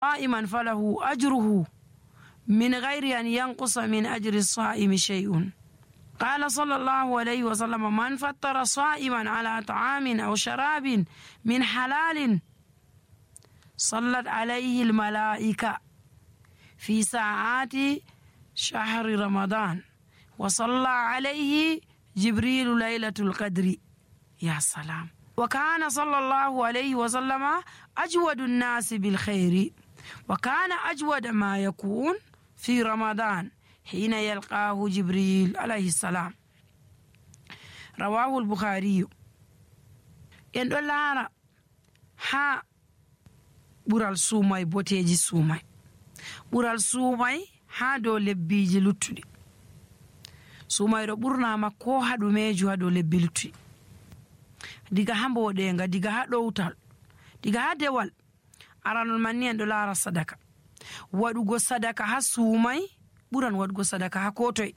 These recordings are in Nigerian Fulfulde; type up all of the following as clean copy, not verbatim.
قائما فله أجره من غير أن ينقص من أجر الصائم شيء. قال صلى الله عليه وسلم: من فطر صائما على طعام أو شراب من حلال صلت عليه الملائكة في ساعات شهر رمضان وصلى عليه جبريل ليلة القدر. يا سلام. وكان صلى الله عليه وسلم أجود الناس بالخير، وكان أجود ما يكون في رمضان حين يلقاه جبريل عليه السلام. رواه البخاري. en ɗo laara ha ɓural suumay boteji suumay. ɓural suumay ha dow lebbiji luttuɗi. suumayɗo ɓurnama ko ha ɗumeju ha dow lebbi luttuɗi, diga ha mboɗenga, diga ha ɗowtal, diga ha dewal. aranol man ni en ɗo laara sadaka. waɗugo sadaka ha suumay ɓuran waɗugo sadaka ha kotoye.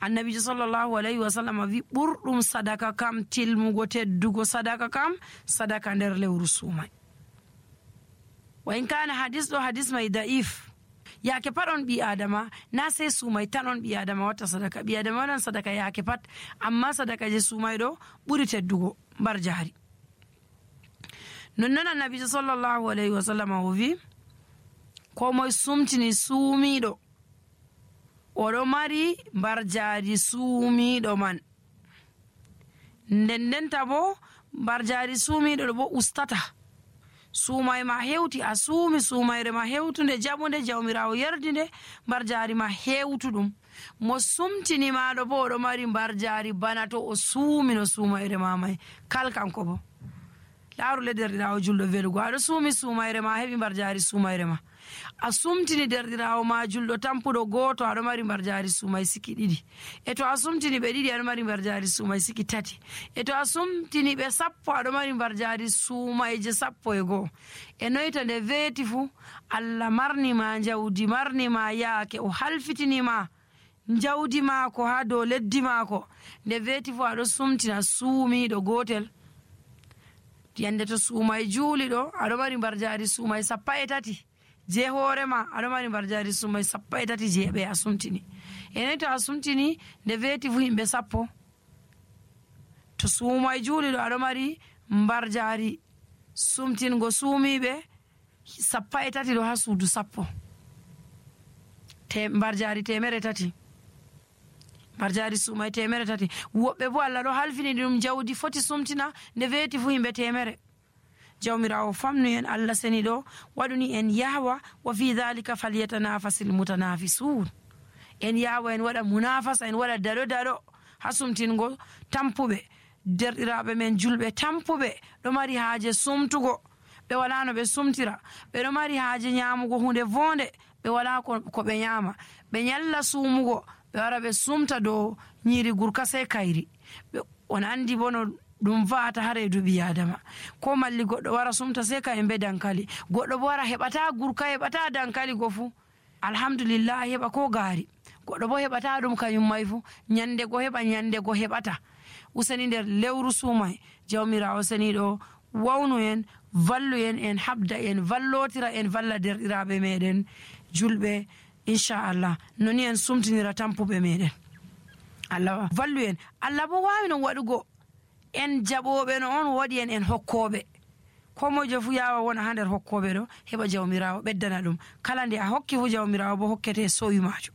annabijo sallallahu alayhi wa sallam wi ɓurɗum sadaka kam, tilmugo teddugo sadaka kam, sadaka nder lewru suumay. wa in kana hadis ɗo hadis may da'if, yaake pat on ɓi adama, na sey suumay tan on ɓi adama watta sadaka. ɓi adama waɗan sadaka yaake pat, amma sadaka je suumay ɗo ɓuri teddugo mbar jahari. nonnon annabijo sallallahu alayhi wa sallam o wi ko moye sumtini suumiɗo oɗo mari mbar jaari suumiɗo man. ndendenta bo mbar jaari suumiɗo ɗo bo ustata. suumay ma hewti, a suumi suumayre ma hewtunde jaɓude, jawmirawo yerdinde, mbar jaari ma hewtuɗum. mo sumtini maɗo bo oɗo mari mbar jaari bana to o suumino suumayre ma may. kal kanko bo laaru le derɗirawo julɗo velugo, aɗo suumi suumayre ma heɓi mbar jaari suumayre ma. a sumtini derɗirawo ma julɗo tampuɗo goto, aɗo mari mbar jaari suumay siki ɗiɗi. e to a sumtini ɓe ɗiɗi, aɗo mari mbar jaari suumay siki tati. e to a sumtini ɓe sappo, aɗo mari mbar jaari suumayje 11. e noyta nde weeti fuu allah marnima jawdi, marnima yaake, o halfitinima jawdi maako ha dow leddi maako. nde weeti fuu aɗo sumtina suumiɗo gotel. yande to suumay juuli ɗo, aɗo mari mbar jaari suumay 13 je hoorema, aɗo mari mbar jaari suumay 13 je ɓe a sumtini. enen to a sumtini nde weeti fu himɓe 10. to suumay juuli ɗo aɗo mari mbar jaari sumtingo suumiɓe 13 ɗo ha suudu 10. mbar jaari 300. mbar jaari suumay 300. woɓɓe bo allah ɗo halfini ɗum jawdi foti sumtina nde weeti fu himɓe 100. jawmirawo famnu en, allah seni ɗo waɗuni en yahwa wa fi dhalika falyatanafasil mutanafisun. en yahwa en waɗa munafasa, en waɗa daɗo ha sumtingo tampuɓe derɗiraɓe men julɓe tampuɓe ɗo mari haaje sumtugo, ɓe wala no ɓe sumtira, ɓe ɗo mari haaje nyamugo hunde vonde, ɓe wala ko ɓe nyama, ɓe nyalla suumugo, ɓe wara ɓe sumta dow nyiri gurka sey kayri. on andi bo no ɗum va'ata ha reedu ɓi adama. ko malli goɗɗo wara sumta sey ka be dankali, goɗɗo bo wara heɓata gurka, heɓata dankali go fu alhamdulillah heɓa ko gaari. goɗɗo bo heɓata ɗum kañum may fu nyande go heɓa, nyande go heɓata. useni nder lewru suumay jawmirawo seniɗo wawnu en, vallu en habda en, vallotira en, valla derɗiraɓe meɗen julɓe inchallah. noni en sumtinira tampuɓe meɗen. allah vallu en. allah bo wawi no waɗugo en jaɓoɓe no on waɗi en hokkoɓe. ko mojo fu yawa wona ha nder hokkoɓe ɗo, heɓa jawmirawo ɓeddana ɗum. kala nde a hokki fu jawmirawo bo hokkete sowi majo.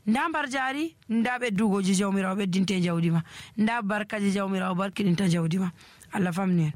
nda mbar jaari, nda ɓeddugoji jawmirawo ɓeddinte jawdi ma, nda barkaji jawmirawo barkiɗinta jawdi ma. allah famni en.